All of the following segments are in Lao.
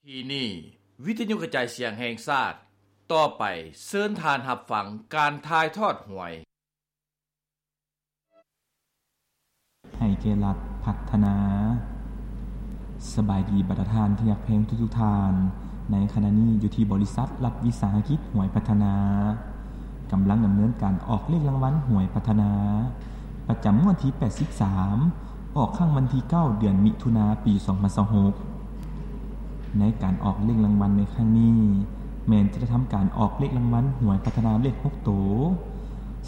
ທີ່ນີ້ ວິທະຍຸກະຈາຍສຽງແຫ່ງຊາດ, ຕໍ່ໄປເຊີນທ່ານຮັບຟັງການຖ່າຍທອດຫວຍ. ໃຫ້ແກ່ລັດພັດທະນາ. ສະບາຍດີບັນດາທ່ານທີ່ຮັກແພງທຸກໆທ່ານ. ໃນຂະນະນີ້ຢູ່ທີ່ບໍລິສັດລັດວິສາຫະກິດຫວຍພັດທະນາ ກຳລັງດຳເນີນການອອກເລກລາງວັນຫວຍພັດທະນາ ປະຈຳງວດທີແປດສິບສາມ ອອກຄັ້ງວັນທີເກົ້າ ເດືອນມິຖຸນາ ປີສອງພັນຊາວຫົກ. ໃນການອອກເລກລາງວັນໃນຄັ້ງນີ້ ແມ່ນຈະໄດ້ທຳການອອກເລກລາງວັນຫວຍພັດທະນາເລກຫົກໂຕ,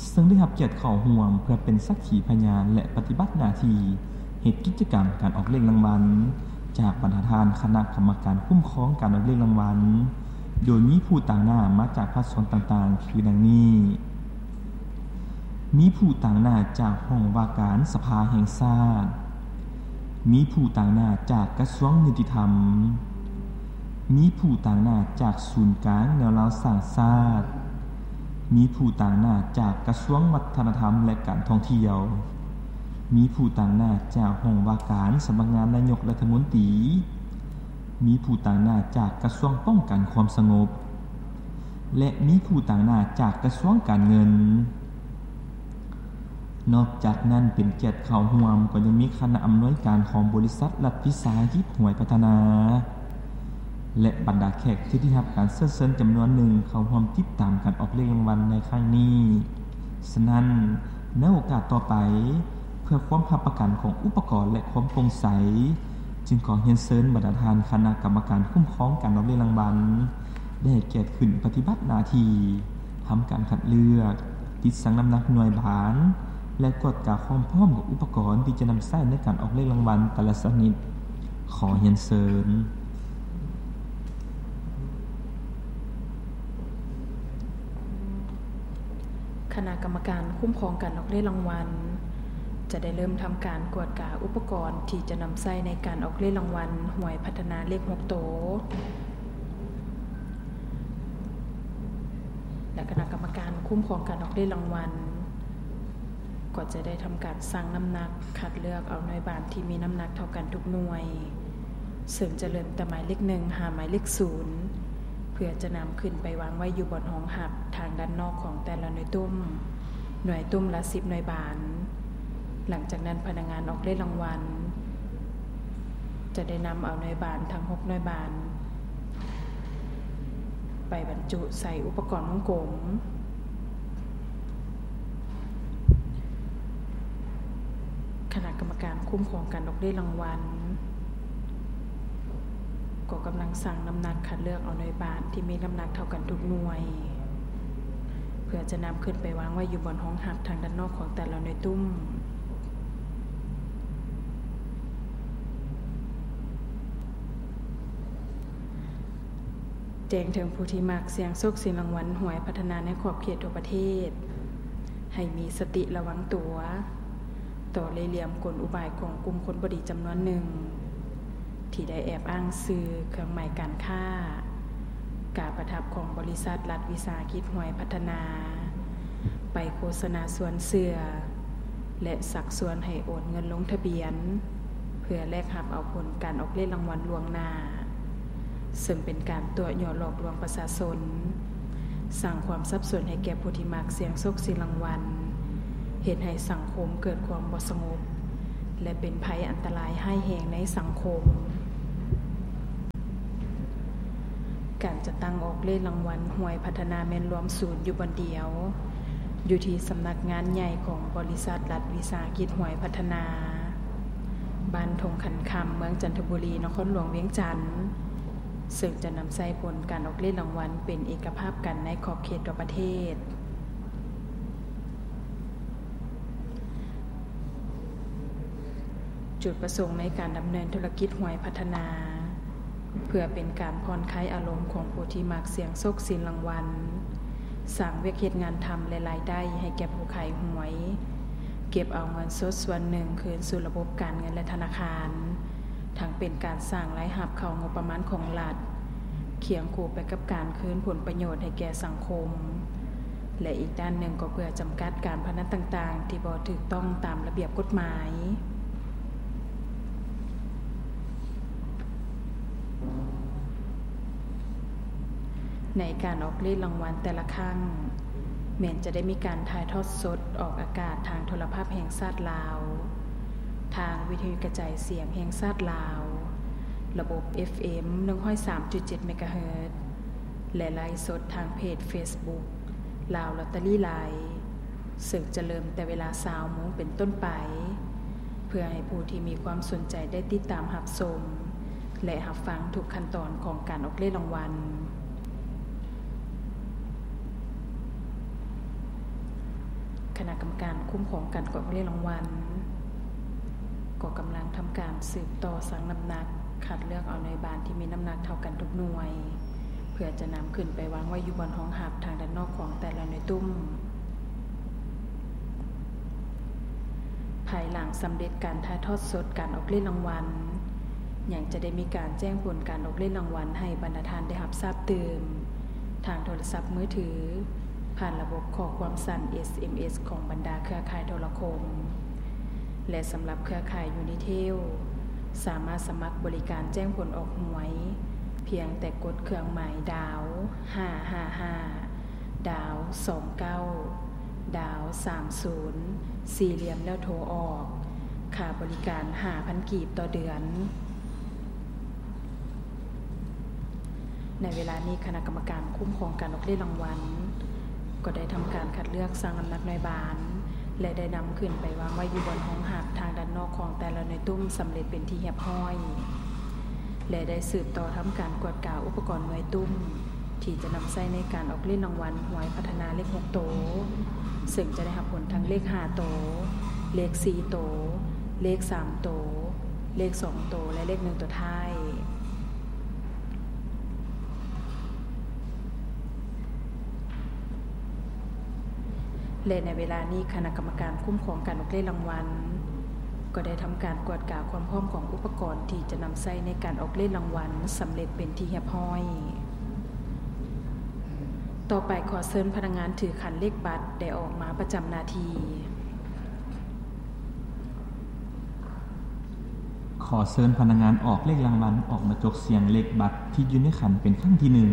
ເຊິ່ງໄດ້ຮັບກຽດເຂົ້າຮ່ວມເພື່ອເປັນສັກຂີພະຍານ ແລະ ປະຕິບັດໜ້າທີ່ເຮັດກິດຈະກຳການອອກເລກລາງວັນ ຈາກບັນດາທ່ານຄະນະກຳມະການຄຸ້ມຄອງການອອກເລກລາງວັນ, ໂດຍມີຜູ້ຕາງໜ້າມາຈາກພາກສ່ວນຕ່າງໆ ຄືດັ່ງນີ້. ມີຜູ້ຕາງໜ້າຈາກຫ້ອງວ່າການສະພາແຫ່ງຊາດ, ມີຜູ້ຕາງໜ້າຈາກກະຊວງຍຸຕິທຳ, ມີຜູ້ຕາງໜ້າຈາກສູນກາງແນວລາວສ້າງຊາດ, ມີຜູ້ຕາງໜ້າຈາກກະຊວງວັດທະນະທຳ ແລະ ການທ່ອງທ່ຽວ, ມີຜູ້ຕາງໜ້າຈາກຫ້ອງວ່າການສຳນັກງານນາຍົກລັດຖະມົນຕີ, ມີຜູ້ຕາງໜ້າຈາກກະຊວງປ້ອງກັນຄວາມສະຫງົບ ແລະ ມີຜູ້ຕາງໜ້າຈາກກະຊວງການເງິນ. ນອກຈາກນັ້ນ ເປັນກຽດເຂົ້າຮ່ວມກໍຍັງມີຄະນະອຳນວຍການຂອງບໍລິສັດລັດວິສາຫະກິດຫວຍພັດທະນາ ແລະ ບັນດາແຂກທີ່ໄດ້ຮັບການເຊີນເຊີນຈຳນວນໜຶ່ງເຂົ້າຮ່ວມຕິດຕາມການອອກເລກລາງວັນໃນຄັ້ງນີ້. ສະນັ້ນ, ໃນໂອກາດຕໍ່ໄປ, ເພື່ອຄວາມຮັບປະກັນຂອງອຸປະກອນ ແລະ ຄວາມໂປ່ງໃສ, ຈຶ່ງຂໍຮຽນເຊີນບັນດາທ່ານຄະນະກຳມະການຄຸ້ມຄອງການອອກເລກລາງວັນ ໄດ້ໃຫ້ກຽດຂຶ້ນປະຕິບັດໜ້າທີ່ ທຳການຄັດເລືອກ, ຕິດຊັ່ງນ້ຳໜັກໜ່ວຍບານ ແລະ ກວດກາຄວາມພ້ອມຂອງອຸປະກອນທີ່ຈະນຳໃຊ້ໃນການອອກເລກລາງວັນແຕ່ລະຊະນິດ. ຂໍຮຽນເຊີນ. ຄະນະກຳມະການຄຸ້ມຄອງການອອກເລກລາງວັນ ຈະໄດ້ເລີ່ມທຳການກວດກາອຸປະກອນທີ່ຈະນຳໃຊ້ໃນການອອກເລກລາງວັນຫວຍພັດທະນາເລກຫົກໂຕ ແລະ ຄະນະກຳມະການຄຸ້ມຄອງການອອກເລກລາງວັນ ກໍຈະໄດ້ທຳການຊັ່ງນ້ຳໜັກ ຄັດເລືອກເອົາໜ່ວຍບານທີ່ມີນ້ຳໜັກເທົ່າກັນທຸກໜ່ວຍ, ເຊິ່ງຈະເລີ່ມແຕ່ໝາຍເລກໜຶ່ງຫາໝາຍເລກສູນ ເພື່ອຈະນຳຂຶ້ນໄປວາງໄວ້ຢູ່ບ່ອນຮອງຮັບທາງດ້ານນອກຂອງແຕ່ລະໜ່ວຍຕຸ້ມ, ໜ່ວຍຕຸ້ມລະສິບໜ່ວຍບານ. ຫຼັງຈາກນັ້ນ, ພະນັກງານອອກເລກລາງວັນ ຈະໄດ້ນຳເອົາໜ່ວຍບານທັງຫົກໜ່ວຍບານ ໄປບັນຈຸໃສ່ອຸປະກອນວົງກົມ. ຄະນະກຳມະການຄຸ້ມຄອງການອອກເລກລາງວັນ ກໍກຳລັງຊັ່ງນ້ຳໜັກຄັດເລືອກເອົາໜ່ວຍບານທີ່ມີນ້ຳໜັກເທົ່າກັນທຸກໜ່ວຍ ເພື່ອຈະນຳຂຶ້ນໄປວາງໄວ້ຢູ່ບ່ອນຮອງຮັບທາງດ້ານນອກຂອງແຕ່ລະໜ່ວຍຕຸ້ມ. ແຈ້ງເຖິງຜູ້ທີ່ມັກສ່ຽງໂຊກສ່ຽງລາງວັນຫວຍພັດທະນາໃນຂອບເຂດທົ່ວປະເທດ ໃຫ້ມີສະຕິລະວັງຕົວ ຕໍ່ເລ່ຫຼ່ຽມກົນອຸບາຍຂອງກຸ່ມຄົນບໍ່ດີຈຳນວນໜຶ່ງ ທີ່ໄດ້ແອບອ້າງຊື່, ເຄື່ອງໝາຍການຄ້າ, ກາປະທັບຂອງບໍລິສັດລັດວິສາຫະກິດຫວຍພັດທະນາ ໄປໂຄສະນາຊວນເຊື່ອ ແລະ ຊັກຊວນໃຫ້ໂອນເງິນລົງທະບຽນ ເພື່ອແລກຮັບເອົາຜົນການອອກເລກລາງວັນລ່ວງໜ້າ, ເຊິ່ງເປັນການຕົວະຍົວະຫຼອກລວງປະຊາຊົນ, ສ້າງຄວາມສັບສົນໃຫ້ແກ່ຜູ້ທີ່ມັກສ່ຽງໂຊກສ່ຽງລາງວັນ, ເຮັດໃຫ້ສັງຄົມເກີດຄວາມບໍ່ສະຫງົບ ແລະ ເປັນໄພອັນຕະລາຍຮ້າຍແຮງໃນສັງຄົມ. ການຈັດຕັ້ງອອກເລກລາງວັນຫວຍພັດທະນາແມ່ນລວມສູນຢູ່ບ່ອນດຽວ, ຢູ່ທີ່ສຳນັກງານໃຫຍ່ຂອງບໍລິສັດລັດວິສາຫະກິດຫວຍພັດທະນາ, ບ້ານທົ່ງຂັນຄຳ, ເມືອງຈັນທະບູລີ, ນະຄອນຫຼວງວຽງຈັນ, ເຊິ່ງຈະນຳໃຊ້ຜົນການອອກເລກລາງວັນເປັນເອກະພາບກັນໃນຂອບເຂດທົ່ວປະເທດ. ຈຸດປະສົງໃນການດຳເນີນທຸລະກິດຫວຍພັດທະນາ ເພື່ອເປັນການຜ່ອນຄາຍອາລົມຂອງຜູ້ທີ່ມັກສ່ຽງໂຊກສ່ຽງລາງວັນ, ສ້າງວຽກເຮັດງານທຳ ແລະ ລາຍໄດ້ໃຫ້ແກ່ຜູ້ຂາຍຫວຍ, ເກັບເອົາເງິນສົດສ່ວນໜຶ່ງຄືນສູ່ລະບົບການເງິນ ແລະ ທະນາຄານ, ທັງເປັນການສ້າງລາຍຮັບເຂົ້າງົບປະມານຂອງລັດ, ຄຽງຄູ່ໄປກັບການຄືນຜົນປະໂຫຍດໃຫ້ແກ່ສັງຄົມ ແລະ ອີກດ້ານໜຶ່ງກໍເພື່ອຈຳກັດການພະນັນຕ່າງໆທີ່ບໍ່ຖືກຕ້ອງຕາມລະບຽບກົດໝາຍ. ໃນການອອກເລກລາງວັນແຕ່ລະຄັ້ງ ແມ່ນຈະໄດ້ມີການຖ່າຍທອດສົດອອກອາກາດທາງໂທລະພາບແຫ່ງຊາດລາວ, ທາງວິທະຍຸກະຈາຍສຽງແຫ່ງຊາດລາວ, ລະບົບ ເອັຟເອັມ ໜຶ່ງຮ້ອຍສາມຈຸດເຈັດ ເມກາເຮີດ ແລະ ໄລຟ໌ສົດທາງເພຈເຟສບຸກ ລາວລອດເຕີຣີໄລຟ໌ ເຊິ່ງຈະເລີ່ມແຕ່ເວລາ ຊາວໂມງເປັນຕົ້ນໄປ, ເພື່ອໃຫ້ຜູ້ທີ່ມີຄວາມສົນໃຈໄດ້ຕິດຕາມຮັບຊົມ ແລະ ຮັບຟັງທຸກຂັ້ນຕອນຂອງການອອກເລກລາງວັນ. ຄະນະກຳມະການຄຸ້ມຄອງການອອກເລກລາງວັນ ກໍກຳລັງທຳການສືບຕໍ່ຊັ່ງນ້ຳໜັກ, ຄັດເລືອກເອົາໜ່ວຍບານທີ່ມີນ້ຳໜັກເທົ່າກັນທຸກໜ່ວຍ, ເພື່ອຈະນຳຂຶ້ນໄປວາງໄວ້ຢູ່ບ່ອນຮອງຮັບທາງດ້ານນອກຂອງແຕ່ລະໜ່ວຍຕຸ້ມ. ພາຍຫຼັງສຳເລັດການຖ່າຍທອດສົດການອອກເລກລາງວັນ, ຍັງຈະໄດ້ມີການແຈ້ງຜົນການອອກເລກລາງວັນໃຫ້ບັນດາທ່ານໄດ້ຮັບຊາບຕື່ມ ທາງໂທລະສັບມືຖື, ຜ່ານລະບົບຂໍ້ຄວາມສັ້ນ ເອສເອັມເອສ ຂອງບັນດາເຄືອຂ່າຍໂທລະຄົມ ແລະ ສຳລັບເຄືອຂ່າຍ Unitel ສາມາດສະໝັກບໍລິການແຈ້ງຜົນອອກຫວຍ ພຽງແຕ່ກົດເຄື່ອງໝາຍດາວ ຫ້າຫ້າຫ້າ ດາວ ສອງເກົ້າ ດາວ ສາມສູນ ສີ່ຫຼ່ຽມ ແລ້ວໂທອອກ. ຄ່າບໍລິການ ຫ້າພັນ ກີບຕໍ່ເດືອນ. ໃນເວລານີ້ ຄະນະກຳມະການຄຸ້ມຄອງການອອກເລກລາງວັນ ກໍໄດ້ທຳການຄັດເລືອກ, ຊັ່ງນ້ຳໜັກໜ່ວຍບານ ແລະ ໄດ້ນຳຂຶ້ນໄປວາງໄວ້ຢູ່ບ່ອນຮອງຮັບທາງດ້ານນອກຂອງແຕ່ລະໜ່ວຍຕຸ້ມສຳເລັດເປັນທີ່ຮຽບຮ້ອຍ ແລະ ໄດ້ສືບຕໍ່ທຳການກວດກາອຸປະກອນໜ່ວຍຕຸ້ມ ທີ່ຈະນຳໃຊ້ໃນການອອກເລກລາງວັນຫວຍພັດທະນາເລກຫົກໂຕ, ເຊິ່ງຈະໄດ້ຮັບຜົນທັງເລກຫ້າໂຕ, ເລກສີ່ໂຕ, ເລກສາມໂຕ, ເລກສອງໂຕ ແລະ ເລກໜຶ່ງໂຕທ້າຍ. ແລະ ໃນເວລານີ້ ຄະນະກຳມະການຄຸ້ມຄອງການອອກເລກລາງວັນ ກໍໄດ້ທຳການກວດກາຄວາມພ້ອມຂອງອຸປະກອນທີ່ຈະນຳໃຊ້ໃນການອອກເລກລາງວັນສຳເລັດເປັນທີ່ຮຽບຮ້ອຍ. ຕໍ່ໄປ ຂໍເຊີນພະນັກງານຖືຂັນເລກບັດໄດ້ອອກມາປະຈຳໜ້າທີ່. ຂໍເຊີນພະນັກງານອອກເລກລາງວັນອອກມາຈົກສ່ຽງເລກບັດທີ່ຢູ່ໃນຂັນເປັນຄັ້ງທີໜຶ່ງ.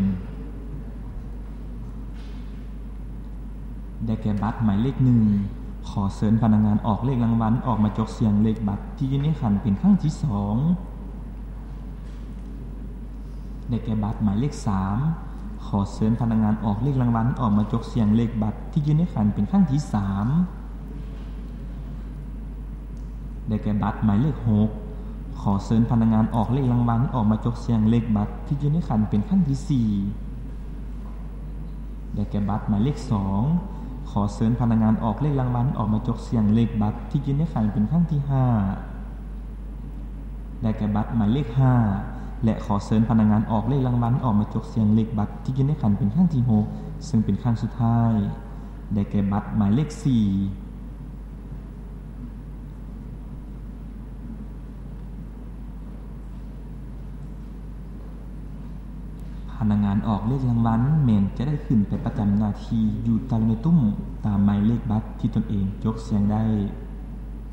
ໄດ້ແກ່ບັດໝາຍເລກໜຶ່ງ. ຂໍເຊີນພະນັກງານອອກເລກລາງວັນອອກມາຈົກສ່ຽງເລກບັດທີ່ຢູ່ໃນຂັນເປັນຄັ້ງທີສອງ. ໄດ້ແກ່ບັດໝາຍເລກສາມ. ຂໍເຊີນພະນັກງານອອກເລກລາງວັນອອກມາຈົກສ່ຽງເລກບັດທີ່ຢູ່ໃນຂັນເປັນຄັ້ງທີສາມ. ໄດ້ແກ່ບັດໝາຍເລກຫົກ. ຂໍເຊີນພະນັກງານອອກເລກລາງວັນອອກມາຈົກສ່ຽງເລກບັດທີ່ຢູ່ໃນຂັນເປັນຄັ້ງທີສີ່. ໄດ້ແກ່ບັດໝາຍເລກສອງ. ຂໍເຊີນພະນັກງານອອກເລກລາງວັນອອກມາຈົກສ່ຽງເລກບັດທີ່ຢູ່ໃນຂັນເປັນຄັ້ງທີຫ້າ. ໄດ້ແກ່ບັດໝາຍເລກຫ້າ ແລະ ຂໍເຊີນພະນັກງານອອກເລກລາງວັນອອກມາຈົກສ່ຽງເລກບັດທີ່ຢູ່ໃນຂັນເປັນຄັ້ງທີຫົກ ເຊິ່ງເປັນຄັ້ງສຸດທ້າຍ. ໄດ້ແກ່ບັດໝາຍເລກສີ່. ພະນັກງານອອກເລກລາງວັນແມ່ນຈະໄດ້ຂຶ້ນໄປປະຈຳໜ້າທີ່ຢູ່ແຕ່ລະໜ່ວຍຕຸ້ມຕາມໝາຍເລກບັດທີ່ຕົນເອງຈົກສ່ຽງໄດ້.